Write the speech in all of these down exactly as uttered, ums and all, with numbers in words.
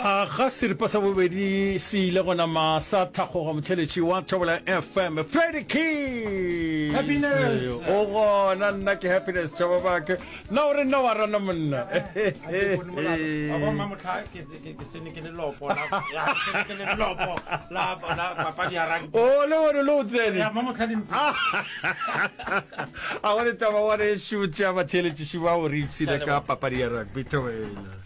A ga seripa sa bobedi se ile gona ma sa thakgoga motheletši wa Thobela F M Freddy Keys. Happiness. O gona, nna ke Happiness Tšhababake. Na o re nna wa rana monna? Wa bona mamotlha ke ke- ke tsene ke le lopo la ya, ke tsene ke le lopo la la papadi ya rugby. O le bone le o tsene. Ya mamotlha di ntse. A gone taba wa re šutša batheletši ba o re ipshine ka papadi ya rugby, Thobela.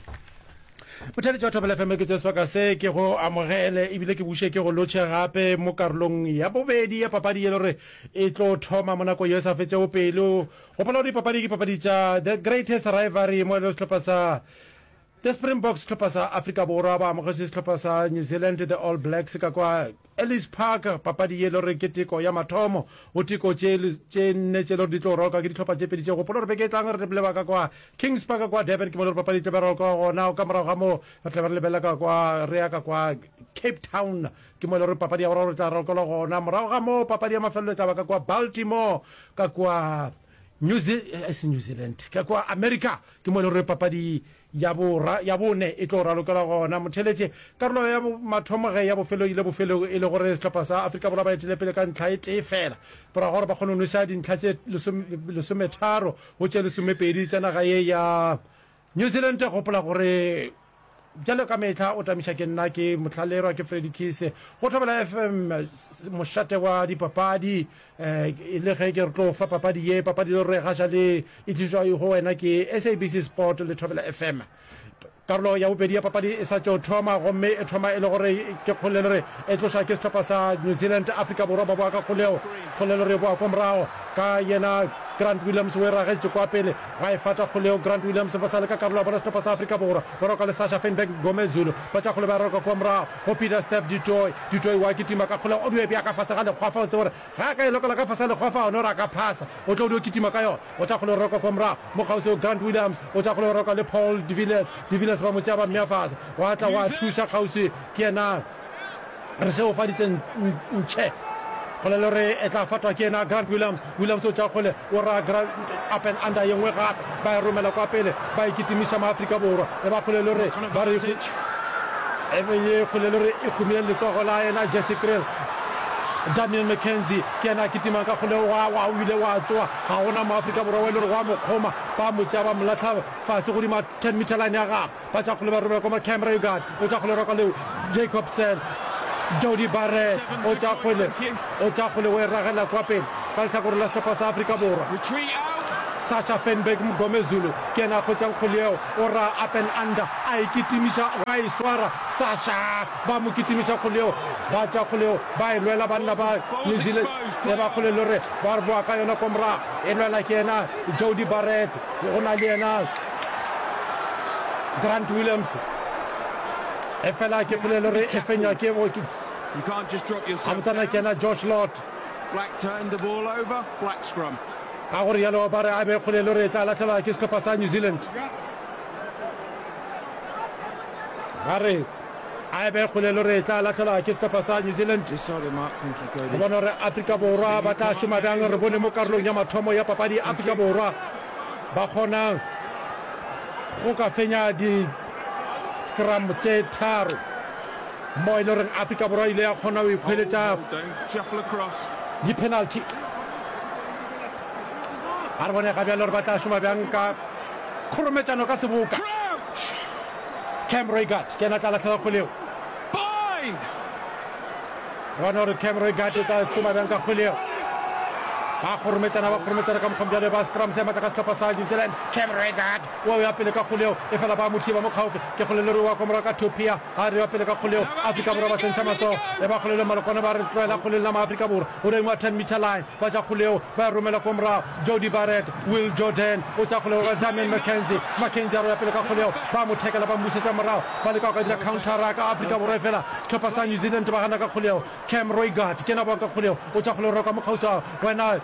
Motheletši wa Thobela F M, ke tšea sebaka se ke go amogele ebile ke buše ke go lotšhe gape mo karolong ya bobedi ya papadi ye le gore e tlo thoma mo nako ye e sa fetšego pelo. Gopola gore dipapadi ke papadi tša The Greatest Rivalry, mo e le sehlopha sa The Springboks, sehlopha sa Afrika Borwa, ba amogetše sehlopha sa New Zealand, The All Blacks, ka kwa Ellis Park. Papadi ye le gore ke teko ya mathomo go teko tše tše nne tše le gore di tlo roka ke dihlopha tše pedi tše. Gopola gore beke e tlang re leba ka kwa Kings Park kwa Durban, ke mo le gore papadi e tlo be roka gona. Ka morago ga moo re tla be re lebelela ka kwa, re ya ka kwa Cape Town, ke mo e le gore papadi ya boraro e tla rokelwa gona. Morago ga moo papadi ya mafelelo e tla ba ka kwa Baltimore, ka kwa New Ze- eh, se New Zealand, ka kwa America, ke mo e le gore papadi ya bora ya bone e tlo ralokela gona. Motheletše, karolo ya mathomo ge ya bofelo ile bofelong e le gore sehlopha sa Afrika Borwa ba etele pele ka ntlha e tee fela, morago gore ba kgone go nweša dintlha tše lesometharo go tše lesomepedi tša naga ye ya New Zealand. Gopola gore bjalo ka mehla o tamiša ke nna, ke motlhalerwa ke Freddy Kise go Thobela F M, mošate wa dipapadi. um e le ge ke re tlo fa papadi ye, papadi le gore ga le e tlišwa go wena ke S A B C Sport le Thobela F M. Karolo ya bobedi ya papadi e sa tšo thoma, gomme e thoma e le gore ke kgole le re e tloša ke sehlopha sa New Zealand. Afrika Borwa ba boa ka kgoleo, kgole le re boa kwa morago ka yena Grant Williams, o e ragetše kwa pele ga e fata kgoleo Grant Williams. Ba sa le ka karolo ya bona sehlopha sa Afrika Borwa, ba roka le Sacha Feinberg Mngomezulu, ba tša kgole ba roka kwa morago go Peter Steph du Toit. Du Toit wa kitima ka kgoleo, o dio e bea ka fase ga lekgwafa. O tsebe gore ga a ka e lokela ka fase ga lekgwafa, one gore a ka phasa, o tlo dio kitima ka yona. O tša kgole roka kwa morago mo kgauswi Grant Williams, o tša kgole roka le Paul de Villiers. De Villiers ba mo tšea ba mmea fase, wa tla wa thuša kgauswi ke yena re šegofaditše ntšhe. Kgole le re e tla fatwa ke yena Grant Williams. Williams o tša kgole, o ra Grant up and under ye nngwe gape, ba e romela kwa pele, ba e kitimiša Maafrika Borwa. E ba kgole le re ba re e ye kgole le re e kgomile letsogo la yena Jesse Kriel. Damian McKenzie ke yena a kitimang ka kgole, wa wa o ile wa tsoa, ga gona Moafrika Borwa wa e le gore wa mo kgoma. Ba mo tšea ba mo latlha fase godima ten meter line ya gagwe. Ba tša kgole ba romela kwa Cam Roigard, o tša kgole roka leo Jacobson. Jody Barrett o tša kgole, o tša kgole o e ragela kwa pele ka lehlakoreng la sehlopha sa Afrika Borwa. Sacha Feinberg Mngomezulu ke yena a hwetšang kgole yeo, o ra up and under, a e kitimiša, wa e swara Sacha, ba mo kitimiša kgole yeo, ba tša kgole yeo ba e lwela banna ba New Zealand. E ba kgole le re ba re boa ka yona kwa morago, e lwela ke yena Jody Barrett, go na le yena Grant Williams, e fela ke kgole le re e fenywa ke gabotsana ke yena Josh Lord. Ka gore yalo ba re a be kgole le re e tla latlhelwa ke sehlopha sa New Zealand. Ba re a be kgole le re e tla latlhelwa ke sehlopha sa New Zealand. Go bona gore Afrika Borwa ba tla šoma bjang. Re bone mo karolong ya mathomo ya papadi Afrika Borwa ba kgona go ka fenya di scrum tše tharo, mo e le goreng Afrika Borwa ile ya kgona go ikhweletša di-penalty. A re bone ga bjale gore ba tla šoma bjang ka kgorometšano ka seboka. Cam Roigard ke yena a tla lahlela kgwele eo. Re bone gore Cam Roigard o tla šoma bjang ka kgwele eo. Ba kgorometšana, ba kgorometšana ka mokgwa bjale ba scrum se matla ka sehlopha sa New Zealand. Cam Roigard o ya pele ka kgwele eo, efela ba mo thiba mo kgaufsi. Ke kgwele le re wa kwa morago ka Topia, a re ya pele ka kgwele eo. Afrika Borwa ba tsentšha matsogo, e ba kgwele le Malokwane ba re tlohela kgwele la Maafrika Borwa. O reng wa ten meter line, ba tša kgwele eo ba e romela kwa morago. Jody Barrett, Will Jordan o tša kgwele go Damian McKenzie. McKenzie a re ya pele ka kgwele eo, ba mo thekela ba mmušetša morago, ba leka go ka dira countera ka Afrika Borwa, efela sehlopha sa New Zealand ba gana ka kgwele eo. Cam Roigard ke yena a boang ka kgwele eo, o tša kgwele go roka mo kgauswi wena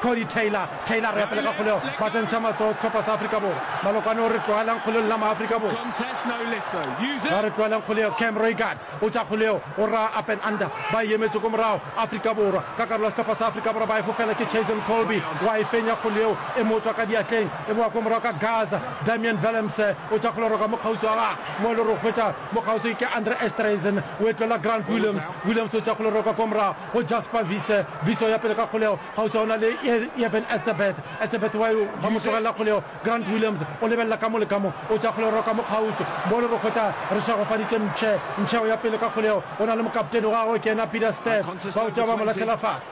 Cody Taylor. Taylor re ya pele ka kgoleo, ba tsentšha matsogo sehlopha sa Afrika Borwa. Malokwane o re tlogelang kgoleo lena Maafrika Borwa. Ba re tlogelang kgoleo. Cam Roigard o tša kgoleo, o ra up and under. Ba e emetše ko morago Afrika Borwa. Ka karolo ya sehlopha sa Afrika Borwa ba e fofela ke Chasen Colby, wa e fenya kgoleo, e mo tšwa ka diatleng, e boa ko morago ka Gaza. Damian Willemse o tša kgoleo roka mo kgauswi wa gagwe, mo e le gore o hwetša mo kgauswi ke Andre Esterhuizen, o e tlola Grant Williams. Williams o tša kgoleo roka ko morago go Jasper Wiese. Wiese o ya pele ka kgoleo, kgauswi o na le Eben Etzebeth. Etzebeth wa ba mo tlogelela kgoleo. Grant Williams o lebelela ka mo le ka mo, o tša kgoleo roka mo kgauswi, mo e le gore o hwetša re šegofaditše Mpšhe. Mpšhe o ya pele ka kgoleo, o na le mokaptene wa gagwe ke yena Peter Steph. Ba o tšea ba mo lahlela fase.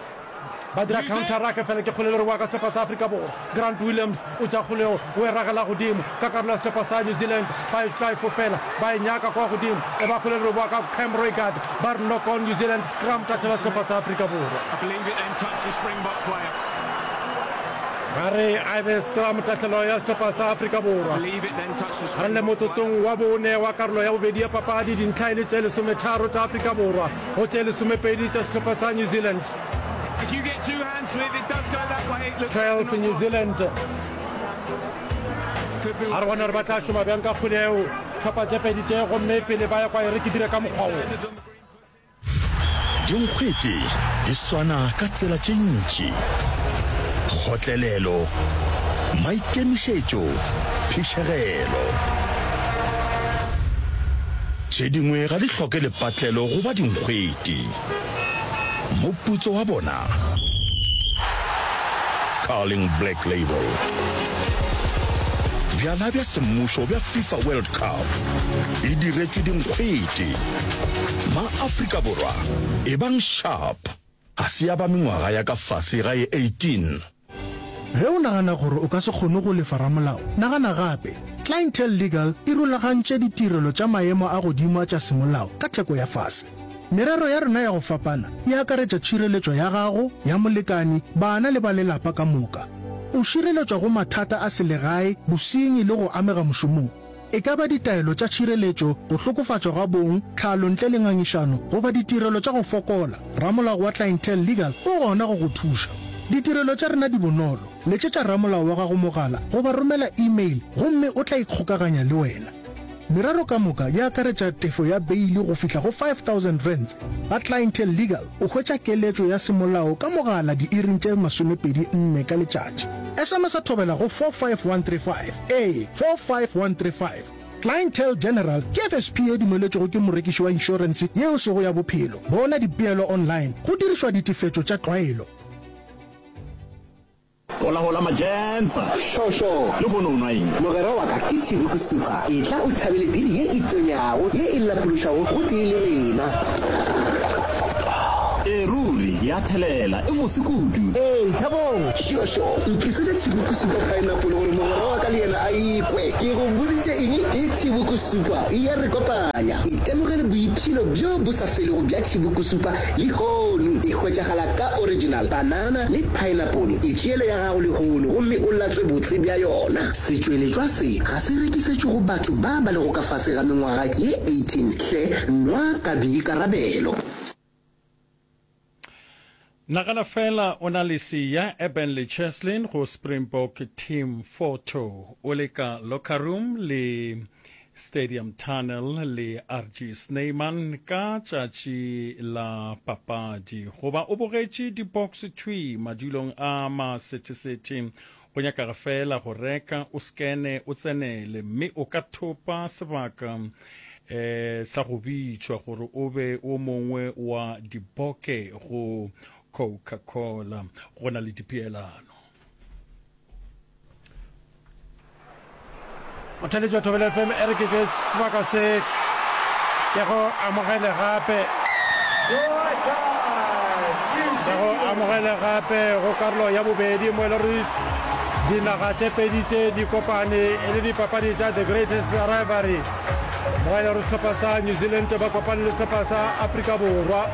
Ba dira counter ruck fela ke kgole le re wa ka sehlopha sa Afrika Borwa. Grant Williams o tša kgoleo o e ragela godimo ka karolo ya sehlopha sa New Zealand. Ba e tla e fofela ba e nyaka kwa godimo e ba kgole le re boa ka Cam Roigard. Ba re knock on New Zealand scrum tahlelo ya sehlopha sa Afrika Borwa. Ba re a e be scrum tahlelo ya sehlopha sa Afrika Borwa. Re le motsotsong wa bone wa karolo ya bobedi ya papadi, dintlha e le tše lesometharo tša Afrika Borwa go tše lesomepedi tša sehlopha sa New Zealand. twelve New Zealand. A re bone gore ba tla šoma bjang ka kgwele eo tlhopha tše pedi tše, gomme pele ba ya kwa e re ke dire ka mokgwa wo. Dinkgwete di swana ka tsela tše ntši, kgotlelelo, maikemišetšo, phišegelo. Tše dingwe ga di hloke lepatlelo go ba dinkgwete. Moputso wa bona? Carling Black Label. Bjala bja semmušo bja FIFA World Cup e diretšwe dinkgwete. Ma-Afrika Borwa, ebang sharp! Ga se ya ba mengwaga ya ka fase ga ye eighteen. Ge o nagana gore o ka se kgone go lefa ramolao, nagana gape. Clientele Legal e rulagantše ditirelo tša maemo a godimo a tša semolao ka theko ya fase. Merero ya rena ya go fapana e akaretša tšhireletšo ya gago, ya molekani, bana le ba lelapa ka moka. O šireletšwa go mathata a selegae, bosenyi le go amega mošomong. E ka ba ditaelo tša tšhireletšo, go hlokofatšwa ga bong, tlhalo ntle le ngangišano, goba ditirelo tša go fokola, ramolao wa Clientele Legal o gona go go thuša. Ditirelo tša rena di bonolo. Letšetša ramolao wa gago mogala goba romela e-mail gomme o tla ikgokaganya le wena. Merero ka moka e akaretša tefo ya beili go fihla go five thousand rands. Ga Clientele Legal o hwetša keletšo ya semolao ka mogala diiring tše masomepedi nne ka letšatši. S M S thobela go four five one three five, ee, four five one three five. Clientele General ke F S P ye dumeletšwego ke morekiši wa inšorense ye e sego ya bophelo. Bona dipeelo online go dirišwa ditefetšo tša tlwaelo. Hola hola majensa. Sho sho. Lehono o nwa eng? Mogwera wa ka ke Chibuku Super. Etla o thabele biri ye e tonyago, ye e lapološago gotee le rena. Ee ruri, ya thelela, e bose kudu. Ee, Thabong. Sho sho. Ntlisetše Chibuku Super Pineapple gore mogwera wa ka le yena a e kwe. Ke go boditše eng? Ke Chibuku Super, e ya re kopanya. Itemogele boipshino bjo bo sa felego bja Chibuku Super lehono. E hwetšagala ka original, banana le pineapple. Itšeele ya gago lehono gomme o latswe botse bja yona. Setšweletšwa se ga se rekisetšwe go batho ba ba lego ka fase ga mengwaga ye eighteen. Hle nwa ka boikarabelo. Nagana feela o na le Siya, Eben le Cheslin go Springbok Team Photo o le ka locker room le Stadium Tunnel le R G Snyman ka tšatši la papadi goba o bogetše di-box thwi madulong a masethesethe. Go nyakaga fela go reka o skene o tsenele mme o ka thopa sebaka um sa go bitšwa gore o be o mongwe wa diboke go Coca-Cola. Go na le dipeelano. Motheletši wa Thobela F M e re ke ke sebaka se ke go amogele gape, ke go amogele gape go karolo ya bobedi mo e le gore dinaga tše pedi tše di kopane e le dipapadi tša The Greatest Rivalry, mo e le gore sehlopha sa New Zealand ba kopane le sehlopha sa Afrika Borwa,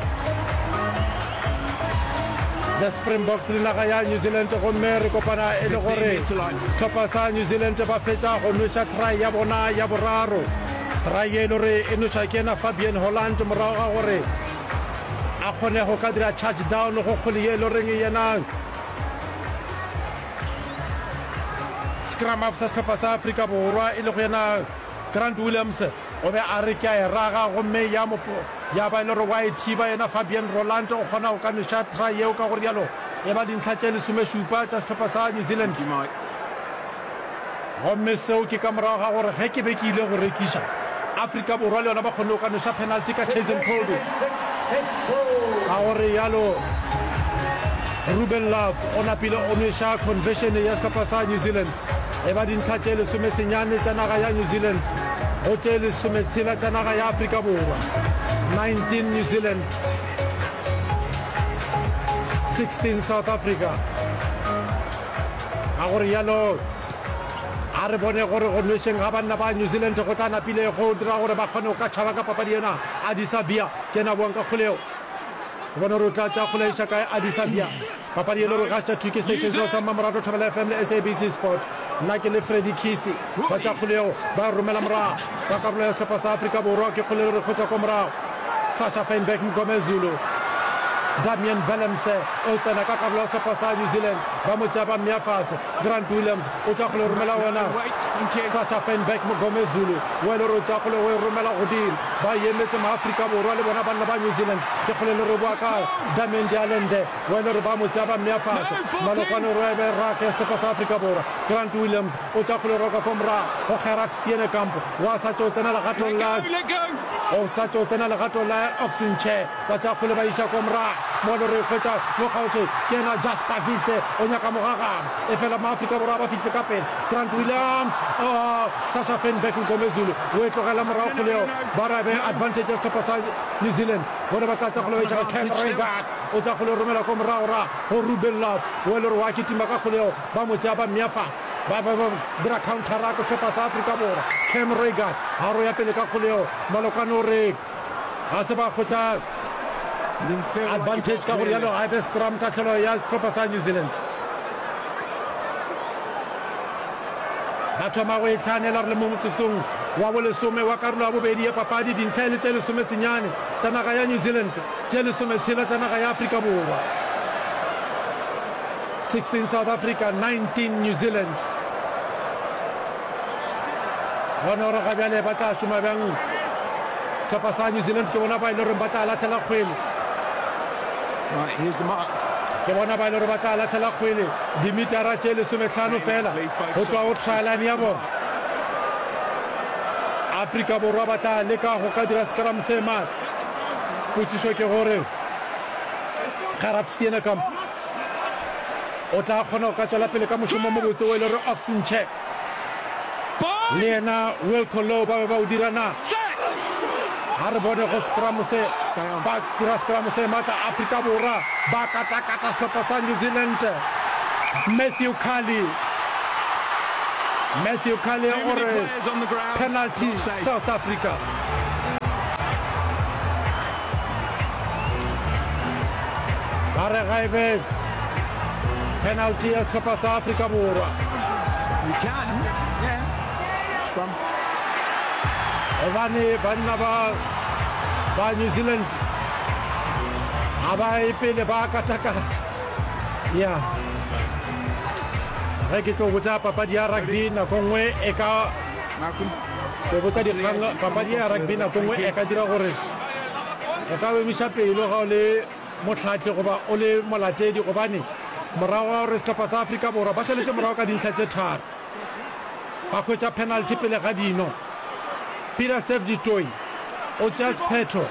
The Springboks le naga ya New Zealand, gomme re kopana e le gore sehlopha sa New Zealand ba fetša go nweša try ya bona ya boraro, try e le gore e nwešwa ke yena Fabian Holland morago ga gore a kgone go ka dira charge down go kgole ye e le goreng yena Scrum half sa sehlopha sa Afrika Borwa e lego yena Grant Williams o be a re ke a e raga gomme ya mo ya ba e le gore wa e thiba yena Fabian Roland o kgona go ka nweša try yeo ka go rialo e ba dintlha tše lesomešupa tša sehlopha sa New Zealand. Gomme seo ke ka morago ga gore ge ke be ke ile go rekiša, Afrika Borwa le yona ba kgonne go ka nweša penalty ka Cheslin Kolbe. Ka go realo, Ruben Love o napile o nweša conversion ya sehlopha sa New Zealand. E ba dintlha tše lesomesenyane tša naga ya New Zealand go tše lesometshela tša naga ya Afrika Borwa. Nineteen New Zealand, sixteen South Africa. Ka go realo, a re bone gore go nwešeng ga banna ba New Zealand go tla napile go dira gore ba kgone go ka tšhaba ka papadi ena. Adisa Via ke yena a boang ka kgole yeo. Re bone gore o tla tša kgole a iša kae Adisa Via. Papadi e le gore gaša thwi ke station seo sa Mmamoratwa Thobela F M le S A B C Sport. Nna ke le Freddy Khisi. Ba tša kgole yeo ba e romela morago ka karolo ya sehlopha sa Afrika Borwa. Ke kgole e le gore e hwetša kwa morago. Sacha Feinberg Mngomezulu. Damian Willemse o tsena ka karolo ya sehlopha sa New Zealand, ba mo tšea ba mmea fase. Grant Williams o tša kgole romela wena. Sacha Feinberg Mngomezulu o e le gore o tša kgole o e romela godimo. Ba emetše maAfrika Borwa le bona banna ba New Zealand. Ke kgole le re boa ka Damian de Allende o e le gore ba mo tšea ba mmea fase. Malokwane o re be ruck ya sehlopha sa Afrika Borwa. Grant Williams o tša kgole roka ko morago go Gerhard Steenekamp wa sa tšo tsena legatong la o sa tšo tsena legatong la Ox Nche. Ba tšea kgole ba iša kwa morago. Mo le re hwetša mo kgauswi ke yena Jasper Wiese o nyaka mogagabo. Efela Maafrika Borwa ba fihle ka pele. Grant Williams, oh, Sacha Feinberg Mngomezulu o e tlogela morago kgole yeo. Ba re be advantage ya sehlopha sa New Zealand. Bone ba tla tša kgole ba iša go Cam Roigard. O tša kgole o romela kwa morago ra go Ruben Love. O e le gore wa kitima ka kgole yeo. Ba mo tšea ba mmea fase. Ba ba ba dira counter-ruck sehlopha sa Afrika Borwa. Cam Roigard ga ro ya pele ka kgole yeo. Malokwane o re Ga se ba hwetša advantage ka go rialo ga e be scrum tahlelo ya sehlopha sa New Zealand. Ba thoma go e tlhanela re le mo motsotsong wa bolesome wa karolo ya bobedi ya papadi, dintlha e le tše lesome senyane tša naga ya New Zealand, tše lesometshela tša naga ya Afrika Borwa. sixteen South Africa, nineteen New Zealand. Bone gore ga bjale ba tla šoma bjang. Sehlopha sa New Zealand ke bona ba e le goreng ba tla lahlela kgwele. Right, here's the mark. Ke bona ba e le gore ba tla lahlela kgwele dimetara tše lesomehlano fela go tloga go try line ya bona. Afrika Borwa ba tla leka go ka dira scrum se matla. Potšišo ke gore Gerhard Steenekamp o tla kgona go ka tšwela pele ka mošomo o mobotse o e le gore Ox Nche le yena Wilco Louw ba be ba o dira na? Ga re bone go scrum se ba dira scrum se matla. Afrika Borwa ba katakata sehlopha sa New Zealand. Matthew Cully, Matthew Cully o re penalty South Africa. Ba re ga e be penalty ya sehlopha sa Afrika Borwa. Gobane banna ba ba New Zealand ga ba ye pele ba katakata. Ya ge ke tlo botša papadi ya rugby nako nngwe e ka go botša dikgang, papadi ya rugby nako nngwe e ka dira gore o ka emiša pelo ga o le mohlahli goba o le molatedi, gobane morago ga gore sehlopha sa Afrika Borwa ba šaletše morago ka dintlha tše tharo, ba hwetša penalty pele ga dino. Peter Steph du Toit o tšea sephetho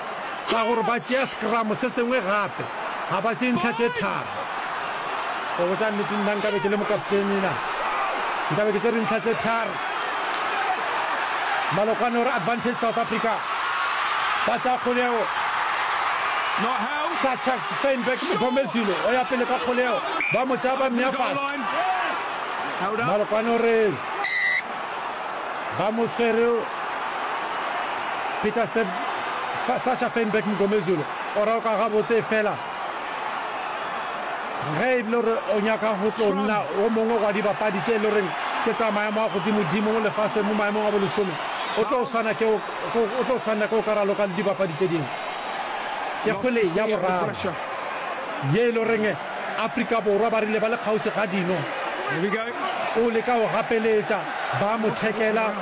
sa gore ba tšea scrum se sengwe gape, ga ba tšee ntlha tše tharo. Go botša nnete, nna nkabe ke le mokaptene na nkabe ke tšere ntlha tše tharo. Malokwane o re advantage South Africa, ba tšea kgolego. Sacha Feinberg Mngomezulu o ya pele ka kgolego, ba mo tšea ba mmea fase. Malokwane o re ba mo tshwere. Peter Step, Sacha Feinberg Mngomezulu o raloka gabotse fela ge e le gore o nyaka go tlo nna o mongwe wa dibapadi tše e le goreng ke tša maemo a godimodimo mo lefaseng mo maemong a bolesome, o tlo swana ke o tlo tshwanela ke go ka raloka le dibapadi tše dingwe. Ke kgwele ya boraro ye e le goreng Afrika Borwa ba rile ba le kgauswi ga dino. O leka go gapeletša, ba mo thekela,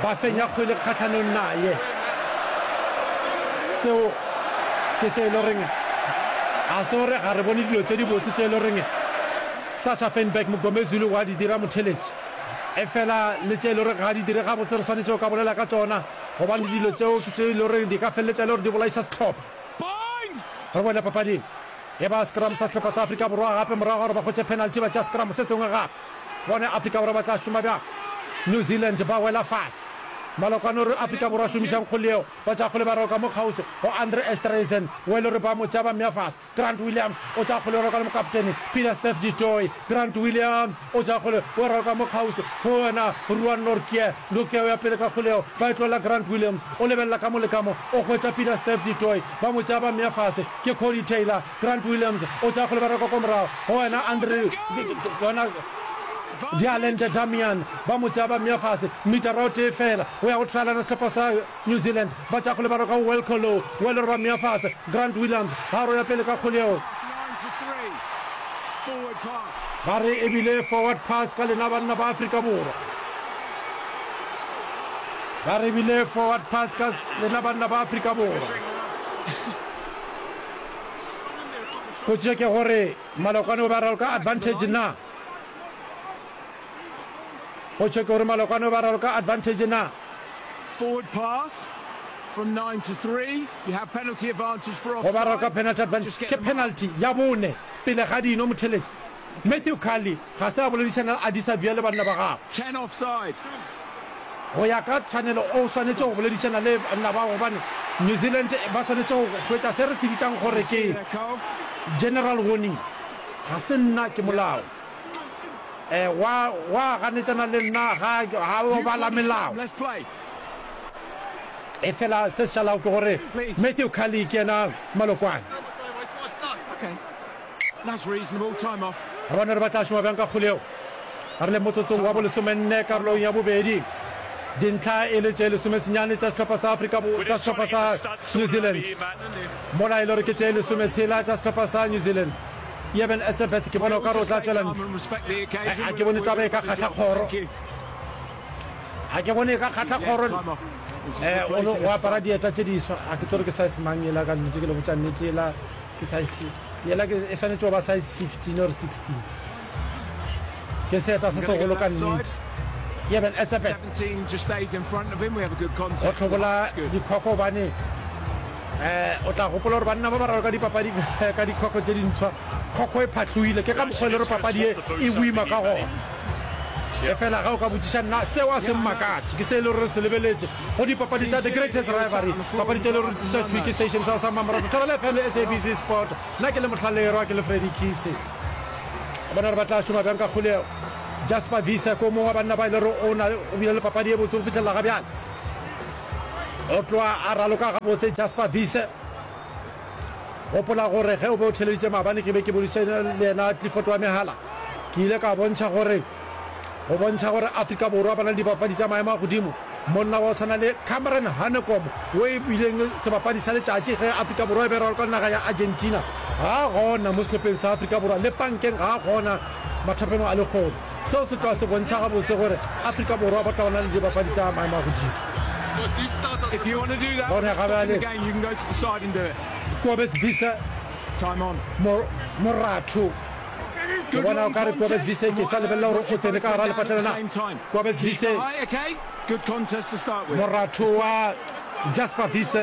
ba fenya kgwele kgahlanong naye. Seo ke se e le goreng ga se gore ga re bone dilo tše dibotse tše e le goreng Sacha Feinberg Mngomezulu wa di dira motheletši. Efela le tše e le goreng ga di dire gabotse re swanetše go ka bolela ka tšona gobane dilo tšeo ke tše e le goreng di ka feleletša e le gore di bolaiša sehlopha. Re boele papading. E ba scrum sa sehlopha sa Afrika Borwa gape morago ga gore ba hwetše penalty ba tšea scrum se sengwe gape. Bone Afrika Borwa ba tla šoma bjang. New Zealand ba wela fase. Malokwane o re Afrika Borwa šomišang kgole yeo. Ba tšea kgole ba roka mo kgauswi go Andre Esterhuizen o e le gore ba mo tšea ba mmea fase. Grant Williams o tšea kgole o roka le mokaptene Peter Steph du Toit. Grant Williams o tšea kgole o roka mo kgauswi go wena Ruan Nortje. Nortje o ya pele ka kgole yeo ba e tlohela Grant Williams o lebelela ka mo le ka mo o hwetša Peter Steph du Toit ba mo tšea ba mmea fase ke Cody Taylor. Grant Williams o tšea kgole ba roka kwa morago go wena Andre yona Dialente Damian ba mo tšea ba mmea fase metara o tee fela go ya go trialana sehlopha sa New Zealand ba tšea kgole ba roka go Wilco Louw o e le gore ba mmea fase Grant Williams ga a roya pele ka kgole yeo ba re e bile forward pass ka lena banna ba Afrika Borwa ba re bile forward pass ka lena banna ba Afrika Borwa potšišo ke gore Malokwane o ba raloka advantage na Potšo ke gore Malokwane o ba raloka advantage na Forward pass from nine to three. You have penalty advantage for Go ba raloka offside. penalty advantage Just get ke the mark. penalty ya bone pele ga dino motheletši Matthew Cully ga se a boledišana le Adisa Via le banna ba gagwe. Ten offside. Go ya ka tshwanelo o swanetše go boledišana le banna bao gobane New Zealand ba swanetše go hwetša se re se bitšang gore You see ke there, Cole? general warning. Ga se nna ke molao. Eh, wa, wa ganetšana le nna ga, ga o You bala call the melao. scrum. Let's play. Efela se šalago ke gore Please. Matthew Cully ke yena malokwane. Okay. That's reasonable. Time off. Re bone re ba tla šoma bjang ka kgole yeo. Re le motsotsong wa bolesomenne karolong ya bobedi. Dintlha e le tše lesomesenyane tša sehlopha sa Afrika Bo, tša sehlopha sa New Zealand. Mola e le gore ke tše lesometshela tša sehlopha sa New Zealand. Eben Etzebeth ke bona o ka re o tla tšwela ntle. Ga ke bone taba e ka kgahla kgoro. Ga ke bone e ka kgahla kgoro. Eh, o no o apara dieta tše diswa. Ga ke tsebe ke size mang yela ka nnete ke le botša nnete yela ke size yela ke e swanetše go ba size fifteen or sixteen. Ke seeta se segolo ka nnete. Eben Etzebeth o hlobola dikhokho gobane eh o tla gopola gore banna ba ba raloka dipapadi ka dikhokho tše dintshwa khokho e phatlogile ke ka mokgwa e le gore papadi ye e boima ka gona efela ga o ka botšiša nna seo a se mmakatše ke se e le gore re se lebeletše go dipapadi tša the greatest rivalry papadi tše e le gore di tliša thwi ke station sa sa mmamoratwa Thobela F M le S A B C Sport nna ke le Mohlallerwa ke le Freddy Kisi bona gore ba tla šoma bjang ka kgolego Jasper Wiese ke o mongwe wa banna ba e le gore o na o bile le papadi ye botse go fihlelela ga bjale o tloga a raloka gabotse Jasper Wiese gopola gore ge o be o theleditše maabane ke be ke bodišane le yena Clifford wa megala ke ile ka bontšha gore go bontšha gore Afrika Borwa ba na le dibapadi tša maemo a godimo monna wa go tshwana le Cameron Hanekom wo e bileng sebapadi sa letšatši ge Afrika Borwa e be raloka le naga ya Argentina ga gona mo sehlopheng sa Afrika Borwa le pankeng ga gona mathapeng a lekgono seo se tloga se bontšha gabotse gore Afrika Borwa ba tla bona le dibapadi tša maemo a godimo If you want to do that, Bone without ga stopping the bjale game, you can go to the side and do it. Kobus Wiese Time on. Mor- Moratho ke Good bona o long ka re Kobus contest. Wiese ke sa lebelela gore o tsene ka gara Down at lepatlelo the na same time. Kobus Keep Wiese high, okay? Good contest to start with. Moratho wa Jasper Wiese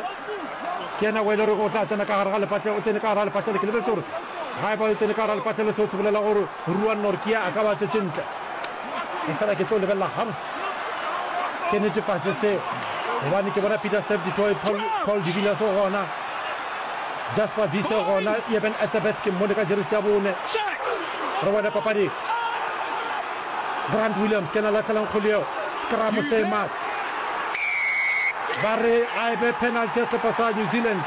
ke yena o e le gore o tla tsena ka gare ga lepatlelo o tsene ka gare ga lepatlelo ke lebeletse gore ga e ba o tsene ka gare ga lepatlelo seo se bolela gore Ruan Nortje a ka ba tswetše ntle e fela ke tlo lebelela gabotse ke netefatše seo gobane ke bona Peter Steph du Toit Paul, Paul de Villiers o gona Jasper Wiese o gona Eben Etzebeth ke mmone ka jeresi ya bone re bone papadi Grant Williams ke yena lahlelang kgole eo scrum se ma ba re a e be penalty ya sehlopha sa New Zealand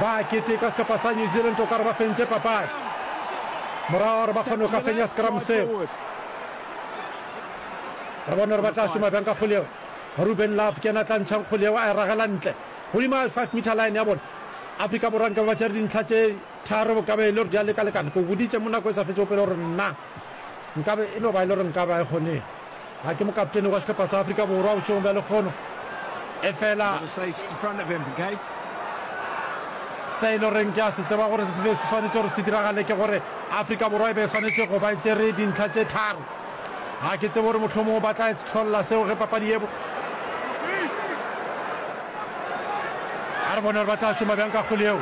ba keteka sehlopha sa New Zealand o ka re ba fentše papadi morago gore ba kgone go ka fenya scrum seo re bone gore ba tla šoma bjang ka kgole eo Ruben Love ke yena a tla ntšhang kgole eo a e ragela ntle godimo ga five meter line ya bona Afrika Borwa nka ba tšere dintlha tše tharo ka be e le gore di a lekalekana ke o boditše mo nako e sa fetšego pele gore nna Nkabe e no ba e le gore nkabe a e kgonege. Ga ke mokaptene wa sehlopha sa Afrika Borwa bošegong bja lekgono, efela se e le goreng ke a se tseba gore se be se swanetše gore se diragale ke gore Afrika Borwa e be e swanetše go ba e tšere dintlha tše tharo. Ga ke tsebe gore mohlomongwe ba tla hlolla seo ge papadi ye. A re bone gore ba tla šoma bjang ka kgwele yeo.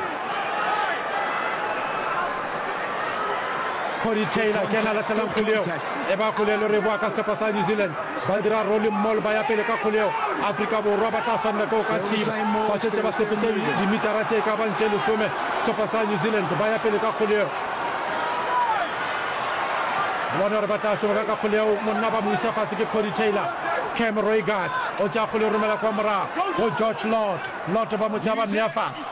Cody Taylor ke yena a lahlelang kgwele yeo. E ba kgwele e le gore e boa ka sehlopha sa New Zealand. Ba dira rolling maul ba ya pele ka kgwele yeo. Afrika Borwa ba tla swanela ke go ka thiba. Ba šetše ba sepetše dimitara tše e ka bang tše lesome. Sehlopha sa New Zealand ba ya pele ka kgwele yeo. Bone gore ba tla šoma bjang ka kgwele yeo. Monna ba mo isa fase ke Cody Taylor. Cam Roigard o tšea kgwele o romela kwa morago go George Lord. Lord ba mo tšea ba mmea fase.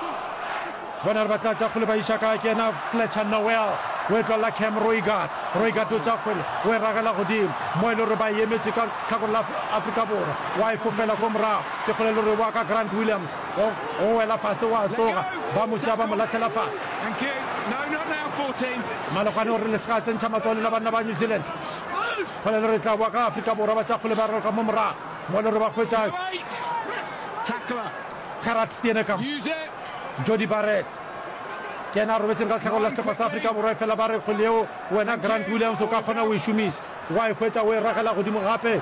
Bone gore ba tla tšea kgwele ba iša kae. Ke yena Fletcher Noel o e tlolela Cam Roigard. Roigard o tšea kgwele o e ragela godimo mo e le gore ba e emetše ka tlhakore la Afrika Borwa. Wa e fofela ko morago. Ke kgwele e le gore e boa ka Grant Williams. O, o wela fase o a tsoga. Ba mo tšea ba mo lahlela fase. Malokwane o re le se ka tsentšha matsogo lena banna ba New Zealand. Kgole le re tla boa ka Afrika Borwa ba tša kgole ba roka mo morago. Mo le re ba hwetša Gerard Steenekamp, Jody Barrett. Ke yena a robetšeng ka lehlakore la sehlopha sa Afrika Borwa efela ba re kgwele yeo wena Grant Williams o ka kgona go e šomiša. Wa e hwetša o e ragela godimo gape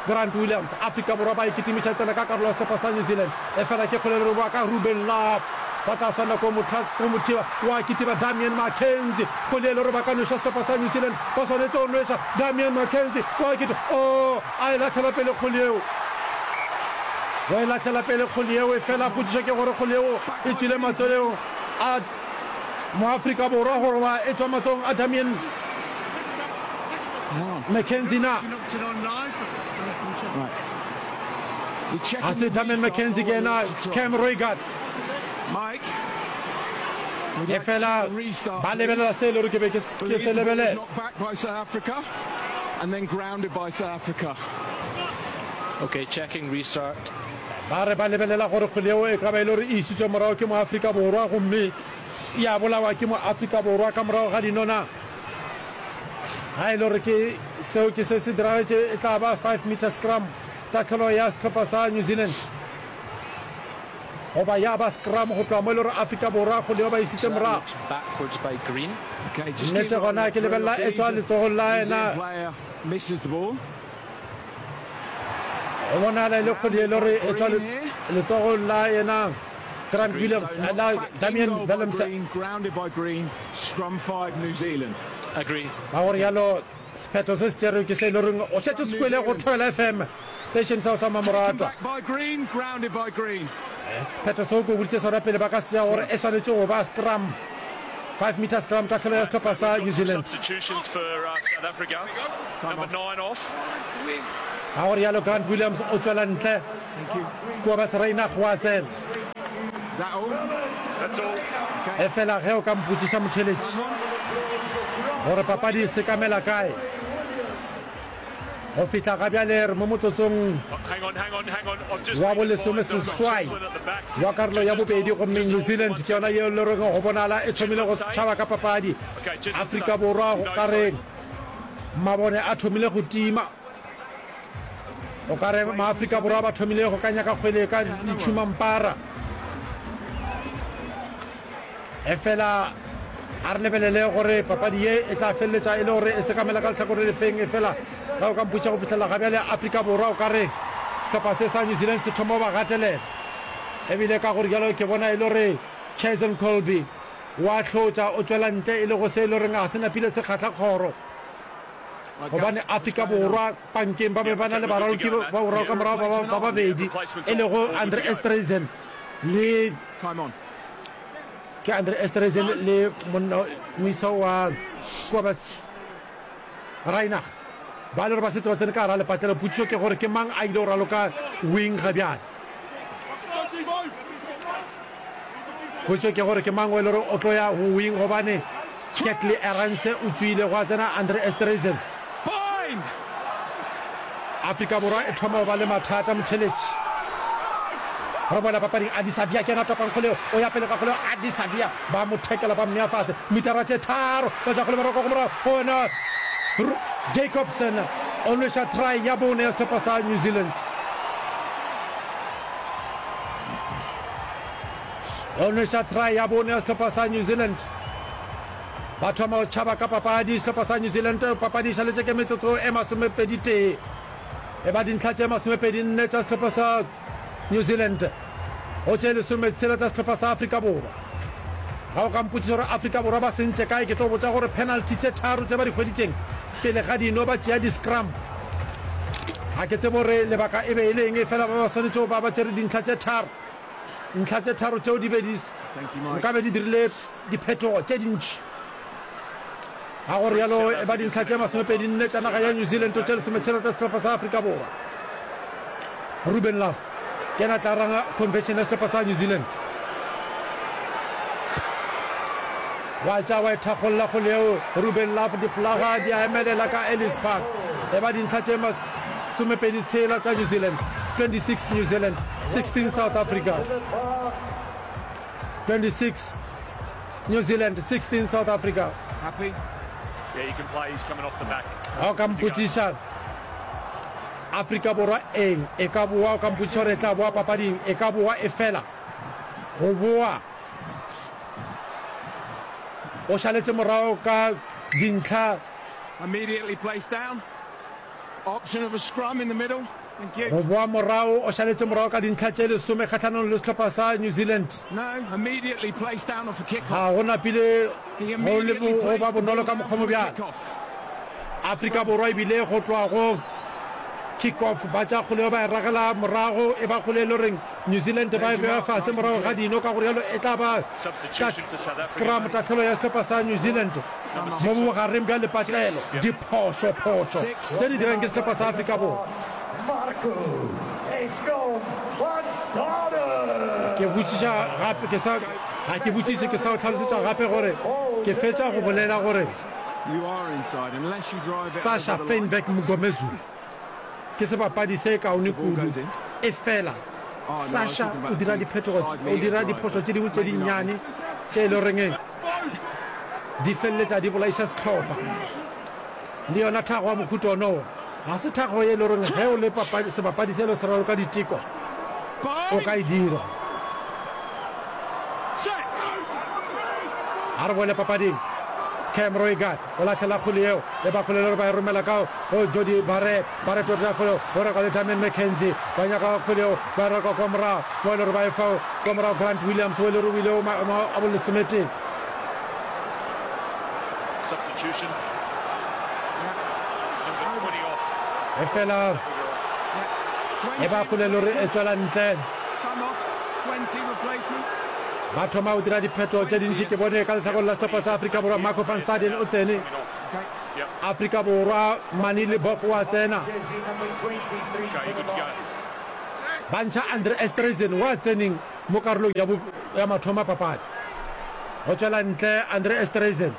Grant Williams. Afrika Borwa ba e kitimiša tsela ka karolo ya sehlopha sa New Zealand. Efela ke kgwele le roboa ka Ruben Love. Ba tla swanela ko mo go mo thiba. Wa kitima Damian McKenzie. Kgwele e le gore ba ka nweša sehlopha sa New Zealand. Ba swanetše go nweša Damian McKenzie. Wa kitima. Oh, a e lahlela pele kgwele yeo. Wa e lahlela pele kgwele yeo. Efela potšišo ke gore kgwele yeo e tšwile matsweleng a Moafrika Borwa goba e tšwa matsogong a Damian McKenzie na? Ga se Damian McKenzie, ke yena Cam Roigard. Efela ba lebelela se e le gore ke be ke se lebelela. Okay, checking restart. Ba re ba lebelela gore kgwele yeo e ka ba e le gore e isitšwe morago ke Moafrika Borwa gomme ya bolawa ke Moafrika Borwa ka morago ga dinona. Ga e le gore ke seo ke se se diragetše, e tla ba five metre scrum, tahlelo ya sehlopha sa New Zealand, goba ya ba scrum go tloga mo e le gore Afrika Borwa kgwele yeo ba isitše morago. Nnete gona ke lebelela e tšwa letsogong la yena. Go bonala e le kgwele e le gore e tšwa letsogong la yena Grant Williams, la Damian Willemse. Ka go rialo sephetho se se tšerwego ke se e le goreng o šetše o se kwele go Thobela F M, station seo sa mamoratwa. Sephetho seo ke o boditše sona pele ba ka se tšea gore e swanetše go ba scrum. Five metre scrum, tahlelo ya sehlopha sa New Zealand. Ka go rialo Grant Williams o tšwela ntle, Kobus Reinach wa tsena. Efela ge o ka mpotšiša motheeletši gore papadi e sekamela kae, Go fihla ga bjale re mo motsotsong wa bolesomeseswai wa karolo ya bobedi gomme New Zealand ke yona yeo le reng go bonala e thomile go tšhaba ka papadi. Afrika Borwa go ka re mabone a thomile go tima. O ka re Maafrika Borwa ba thomile go ka nyaka kgwele ka ditšhumampara. Efela a re lebelele gore papadi ye e tla feleletša e le gore e sekamela ka lehlakore lefeng. Efela ge o ka mpotša go fihlela ga bjale Afrika Borwa o ka re sehlopha se sa New Zealand se thoma go ba gatelela. Ebile ka gore bjalo ke bona e le gore Cheslin Kolbe wa hlotša o tšwela ntle e le go se e le goreng ga se napile se kgahla kgoro. Gobane Afrika Borwa pankeng ba be ba na le baraloki ba boraro ka morago ba babedi e lego Andre Esterhuizen le Ke Andre Esterhuizen le monna moisa wa Kobus Reinach ba le gore ba setse ba tsene ka gara lepatlelo. Potšišo ke gore ke mang a ile go raloka wing ga bjale? Potšišo ke gore ke mang o e le gore o tlo ya go wing gobane Kurt-Lee Arendse o tšwile gwa tsena Andre Esterhuizen. Afrika Borwa e thoma go ba le mathata motheletši. Re boela papading, Adi Savia ke yena a topang kgole, o ya pele ka kgole, Adi Savia ba mo thekela ba mmea fase, mitara tše tharo, ba tša kgole ba roka go morago, gona Jacobson o nweša try ya bone ya sehlopha sa New Zealand. O nweša try ya bone ya sehlopha sa New Zealand. Ba thoma go tšhaba ka papadi sehlopha sa New Zealand. Papadi e šaletše ke metsotso e masomepedi tee. E ba dintlha tše masomepedi nne tša sehlopha sa New Zealand go tše lesometshela tša sehlopha sa Afrika Borwa. Ga o ka mpotšiša gore Afrika Borwa ba sentše kae, ke tlo botša gore penalty tše tharo tše ba di hweditšeng pele ga dino ba tšea di-scrum. Ga ke tsebe gore lebaka e be e le eng, efela ba ba swanetše go ba ba tšere dintlha tše tharo. Ntlha tše tharo tšeo di be di nkabe di dirile diphetogo tše dintši. Ga go realo e ba dintlha tše masomepedi nne tša naga ya New Zealand tše lesometshela tša sehlopha sa Afrika Borwa. Ruben Love ke yena a tla ranga convention ya sehlopha sa New Zealand. Wa tša wa e thakgolla kgole yeo Ruben Love, difolaga di a emelela ka Ellis Park. E ba dintlha tše masomepedi tshela tša New Zealand, twenty six New Zealand, sixteen South Africa. twenty six New Zealand, sixteen South Africa. Happy? Yeah, you can play. He's coming off the back. Ga o ka mpotšiša Afrika Borwa eng e ka boa, o ka mpotšiša gore e tla boa papading, e ka boa e fela go boa o šaletše morago ka dintlha. Immediately placed down. Option of a scrum in the middle. Thank you. Go boa morago o šaletše morago ka dintlha tše lesome kgahlanong le sehlopha sa New Zealand. No, immediately placed down off a kick-off. Ga go napile He go le immediately go ba placed the bonolo ball ka down mokgwa from mo a bjalo. kick-off. Afrika Borwa e bile go tloga go kick-off ba tša kgole eo ba e ragela morago, e ba kgole e le goreng New Zealand ba e bea fase morago ga dino, ka go rialo e tla ba ka scrum tahlelo ya sehlopha sa New Zealand mo bogareng bja lepatlelo. Diphošo, phošo tše di dirang ke sehlopha sa Afrika Borwa. Ke botšiša gape, ke sa, ga ke botšiše, ke sa o hlalosetša gape gore ke fetša go bolela gore Sacha Feinberg-Mngomezulu ke sebapadi se kaone kudu, efela Sacha o dira diphetogo, o dira diphošo tše dingwe tše dinnyane tše e le goreng di feleletša di bolaiša sehlopha. Le yona thago ya mohuta ono ga se thago ye e le goreng ge o le papadi, sebapadi se le se raloka diteko o ka e dira. A re boele papading. Cam Roigard o lahlela kgole yeo e ba kgole le gore ba e romela ka go Jody Barrett. Barrett o tla kgole o reka le Damian McKenzie. Ba nyaka kgole yeo ba e reka kwa morago mo e le gore ba e fa kwa morago Grant Williams o e le gore o ile o maemo a bolesometee. Substitution. Number twenty off. Efela e ba kgole le gore e tswela ntle. Ba thoma go dira diphetho tše dintši. Ke bone ka lehlakoreng la sehlopha sa Afrika Borwa Marco van Staden o tsene. Afrika Borwa Manie Libbok o a tsena. Ba ntšha Andre Esterhuizen o a tseneng mo karolong ya, ya mathomo a papadi. Go tšwela ntle Andre Esterhuizen.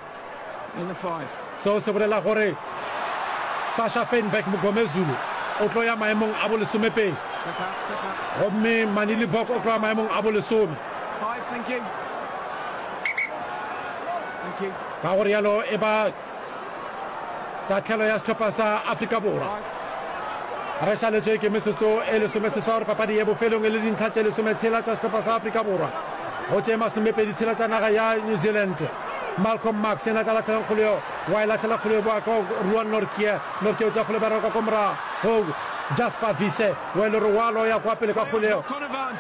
Seo se bolela gore Sacha Feinberg-Mngomezulu o tlo ya maemong a bolesomepedi gomme Manie Libbok o tlo ya maemong a bolesome. Ka go rialo e ba tahlelo ya sehlopha sa Afrika Borwa. Re šaletšwe ke metsotso e lesomeseswa gore papadi ye bofelong e le dintlha tše lesometshela tša sehlopha sa Afrika Borwa go tše masomepedi tshela tša naga ya New Zealand. Malcolm Marx yena a tla lahlelang kgolo yeo, wa e lahlela kgolo yeo boa ka Ruan Nortje. Nortje o tšea kgolo ba raloka ko morago go Jasper Wiese wa e le gore wa loya kwa pele ka kgolo yeo.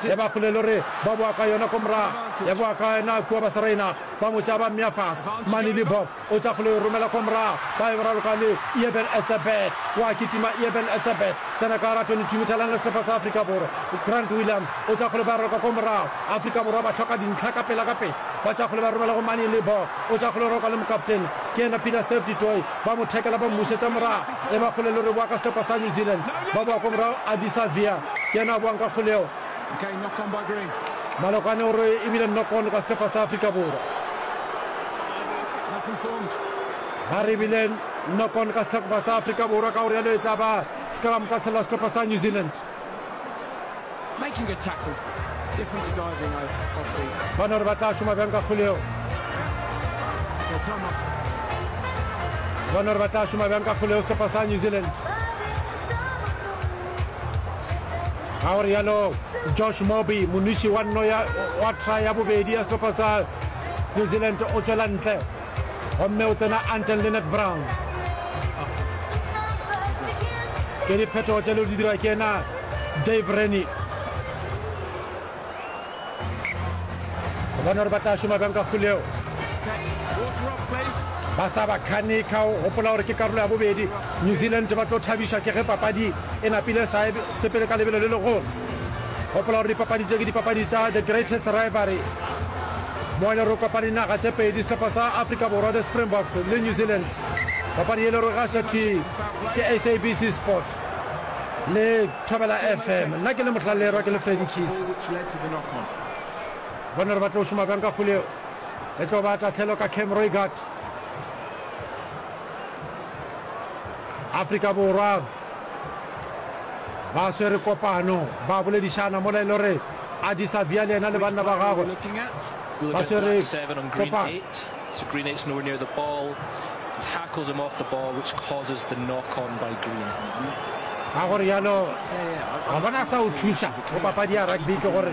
E ba kgolo e le gore ba boa ka yona ko morago, ya boa ka yena kua ba Serena ba mo tšea ba mmea fase. Manie Libbok o tšea kgolo e romela ko morago, ba e raloka le Eben Etzebeth, wa kitima Eben Etzebeth tsena ka gara twenty-two meter line la sehlopha sa Afrika Borwa. Grant Williams o tšea kgolo ba raloka ko morago, Afrika Borwa ba hloka dintlha ka pela ka pela. Ba tšea kgole ba romela go Manie Libbok, o tšea kgole roka le mokaptene ke yena Peter Steph du Toit, ba mo thekela ba mmušetša morago, e ba kgole le re boa ka sehlopha sa New Zealand, ba boa ko morago Ardie Savea ke yena a boang ka kgole yeo. Malokwane o re e bile knock on ka sehlopha sa Afrika Borwa. Ba re e bile knock on ka sehlopha sa Afrika Borwa, ka go realo e tla ba scrum tahlelo ya sehlopha sa New Zealand. Making a tackle, different to diving off the. Bona gore ba tla šoma bjang ka kgole yeo. Okay, time off. Bone gore ba tla šoma bjang ka kgole eo sehlopha sa New Zealand. Ka go rialo Josh Moby, monwiši wa nno ya wa try ya bobedi ya sehlopha sa New Zealand o tšwela ntle gomme o tsena Anton Lienert Brown. Ke diphetogo tše le di dira ke yena Dave Rennie. Go bona gore ba tla šoma bjang ka kgole eo. Ba sa ba khanika, o gopola gore ke karolo ya bobedi. New Zealand ba tlo thabišwa ke ge papadi e napile sa e sepele ka lebelo le legolo. Gopola gore dipapadi tše ke dipapadi tša The Greatest Rivalry, mo e le gore kopane dinaga tše pedi, sehlopha sa Afrika Borwa, The Springboks, le New Zealand. Papadi ye e le gore gaša thwi ke S A B C Sport le Thobela F M. Nna ke le Mohlalerwa, ke le Freddy Keys. Bone gore ba tlo šoma bjang ka kgole eo. E tlo ba tahlelo ka Cam Roigard. Afrika Borwa ba swere kopano, ba boledišana mola e le gore Adi Savia le yena le banna ba gagwe ba swere kopano. So Green eight's nowhere near the ball, tackles him off the ball which causes the knock on by Green. Ka go realo, wa bona sa o thuša go papadi ya rugby ke gore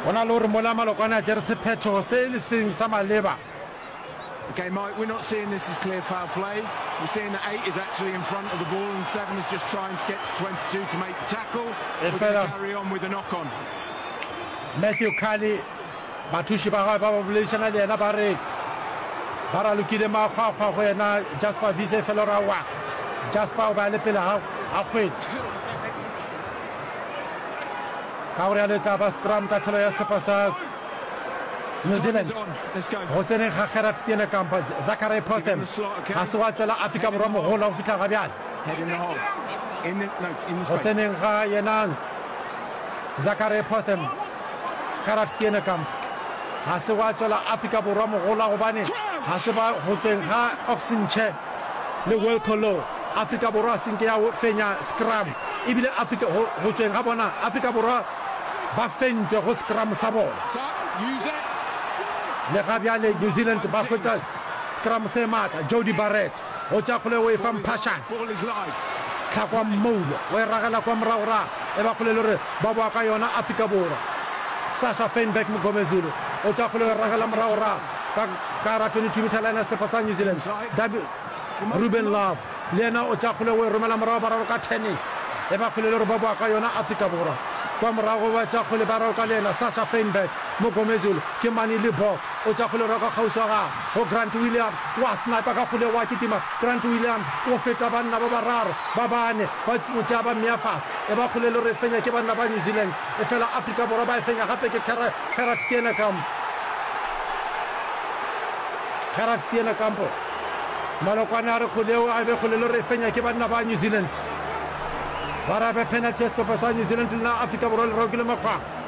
go na le gore mola Malokwane a tšere sephetho se e seng sa maleba. Okay, Mike, we're not seeing this as clear foul play. We're seeing that eight is actually in front of the ball and seven is just trying to get to twenty-two to make the tackle. We're gonna carry on with the knock on. Matthew Kelly, bathuši ba gagwe ba ba boledišana le yena ba re ba ralokile makgwakgwa go yena Jasper Wiese, efela gore aowa, Jasper o be a le pele ga kgwedi. Ka go realo e tla ba scrum tahlelo ya sehlopha sa New Zealand. Go tseneng ga Gerard Steenekamp, Zachary Potham ga se wa tšwela Afrika Borwa mohola go fihla ga bjale. Go tseneng ga yena Zachary Potham, Gerard Steenekamp ga se wa tšwela Afrika Borwa mohola gobane ga se ba go tsweng ga Ox Nche le Wilco Louw. Afrika Borwa se nke ya fenya scrum ebile Afrika go, go tsweng ga bona Afrika Borwa ba fentšwe go scrum sa bona. Le ga bjale New Zealand ba hwetša scrum se maatla. Jody Barrett o tšea kgole o e fa Mphashane. Tlhakwa Mmoulo o e ragela kwa morago ra e ba kgole le gore ba boa ka yona Afrika Borwa. Sasha Feinberg Mgomezulu o tšea kgole o e ragela morago ra ka ka ra twenty-two meter line ya sehlopha sa New Zealand. W Ruben Love le yena o tšea kgole o e romela morago ba raloka tennis. E ba kgole le gore ba boa ka yona Afrika Borwa. Kwa morago ba tšea kgole ba raloka le yena Sasha Feinberg Mgomezulu ke Manie Libbok o tšea kgole o raloka kgauswi wa gagwe go Grant Williams wa sniper ka kgole wa kitima Grant Williams o feta banna ba bararo ba bane ba mo tšea ba mmea fase. E ba kgole le gore e fenya ke banna ba New Zealand efela Afrika Borwa ba e fenya gape ke Gerard Steenekamp. Gerard Steenekamp Malokwane a re kgole eo a be kgole le gore e fenya ke banna ba New Zealand. Ba re a be penalty ya sehlopha sa New Zealand le na Afrika Borwa le rokile makgwakgwa.